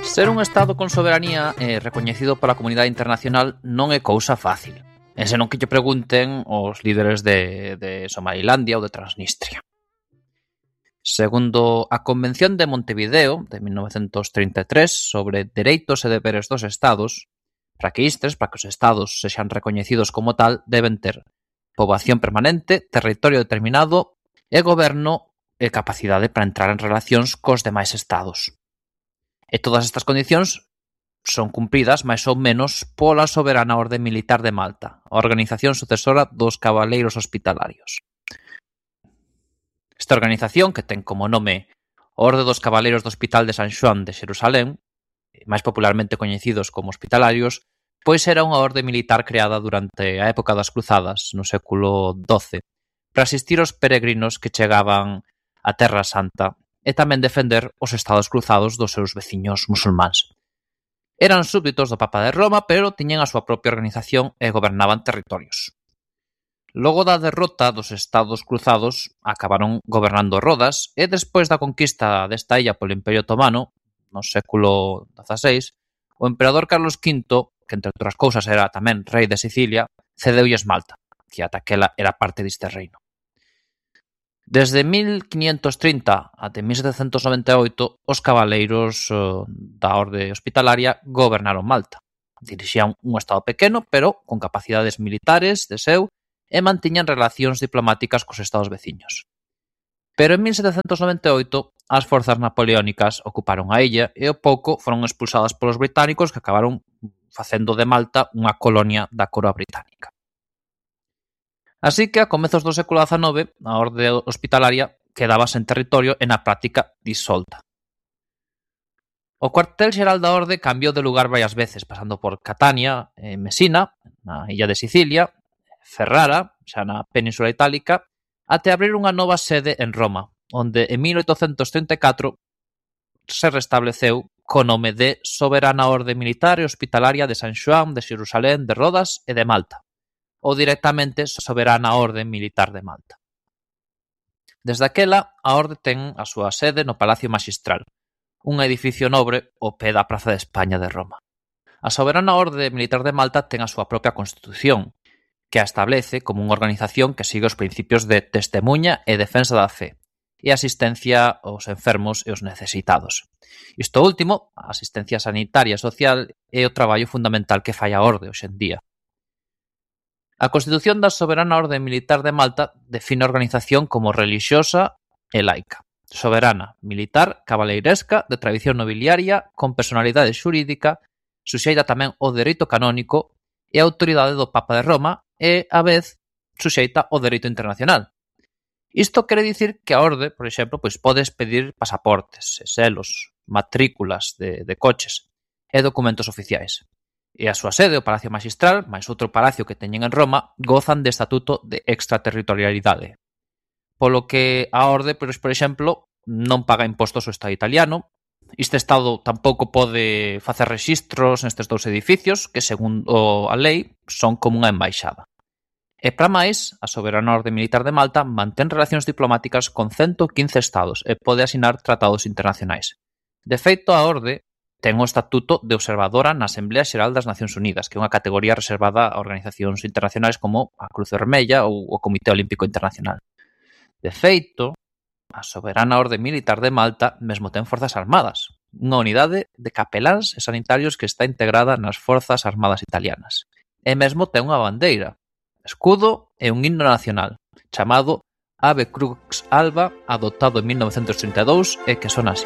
Ser un estado con soberanía e recoñecido pola comunidade internacional non é cousa fácil. E senón que lle pregunten os líderes de Somalilandia ou de Transnistria. Segundo a Convención de Montevideo de 1933 sobre dereitos e deberes dos estados, para que os estados sexan recoñecidos como tal, deben ter poboación permanente, territorio determinado e goberno e capacidade para entrar en relacións cos demais estados. E todas estas condicións son cumpridas máis ou menos pola soberana Orde Militar de Malta, a organización sucesora dos Cabaleiros Hospitalarios. Esta organización, que ten como nome Orde dos Cabaleiros do Hospital de San Xoán de Xerusalén, máis popularmente coñecidos como hospitalarios, pois era unha orde militar creada durante a época das Cruzadas, no século XII, para asistir aos peregrinos que chegaban á Terra Santa e tamén defender os estados cruzados dos seus veciños musulmáns. Eran súbditos do Papa de Roma, pero tiñan a súa propia organización e gobernaban territorios. Logo da derrota dos estados cruzados, acabaron gobernando Rodas e despois da conquista desta illa polo Imperio Otomano, no século XVI, o emperador Carlos V, que entre outras cousas era tamén rei de Sicilia, cedeulles Malta, que ata aquela era parte deste reino. Desde 1530 até 1798, os cabaleiros da Orde Hospitalaria gobernaron Malta. Dirixían un estado pequeno, pero con capacidades militares de seu, e mantiñan relacións diplomáticas cos estados veciños. Pero en 1798, as forzas napoleónicas ocuparon a illa e ao pouco foron expulsadas polos británicos, que acabaron facendo de Malta unha colonia da coroa británica. Así que, a comezos do século XIX, a Orde Hospitalaria quedaba sen territorio e na práctica disolta. O cuartel xeral da Orde cambiou de lugar varias veces, pasando por Catania, Mesina, na illa de Sicilia, Ferrara, xa na Península Itálica, até abrir unha nova sede en Roma, onde en 1834 se restableceu co nome de Soberana Orde Militar e Hospitalaria de San Xoán, de Xerusalén, de Rodas e de Malta, ou directamente Soberana Orde Militar de Malta. Desde aquela, a Orde ten a súa sede no Palacio Maxistral, un edificio nobre ao pé da Praza de España de Roma. A Soberana Orde Militar de Malta ten a súa propia Constitución, que a establece como unha organización que sigue os principios de testemuña e defensa da fe, e asistencia aos enfermos e aos necesitados. Isto último, a asistencia sanitaria e social, é o traballo fundamental que fai a Orde hoxe en día. A Constitución da Soberana Orde Militar de Malta define a organización como relixiosa e laica, soberana, militar, cabaleiresca, de tradición nobiliaria, con personalidade xurídica, suxeita tamén ao dereito canónico e a autoridade do Papa de Roma e, a vez, suxeita ao dereito internacional. Isto quere dicir que a Orde, por exemplo, podes pedir pasaportes, selos, matrículas de coches e documentos oficiais. E a súa sede, o Palacio Maxistral, máis outro palacio que teñen en Roma, gozan de estatuto de extraterritorialidade. Polo que a Orde, por exemplo, non paga impostos ao Estado italiano. Este Estado tampouco pode facer rexistros nestes dous edificios, que, segundo a lei, son como unha embaixada. E para máis, a Soberana Orde Militar de Malta mantén relacións diplomáticas con 115 estados e pode asinar tratados internacionais. De feito, a Orde ten o estatuto de observadora na Asamblea Xeral das Nacións Unidas, que é unha categoría reservada a organizacións internacionais como a Cruz Vermella ou o Comité Olímpico Internacional. De feito, a Soberana Orde Militar de Malta mesmo ten forzas armadas, unha unidade de capeláns e sanitarios que está integrada nas Forzas Armadas Italianas. E mesmo ten unha bandeira, escudo e un himno nacional, chamado Ave Crux Alba, adoptado en 1932 e que son así.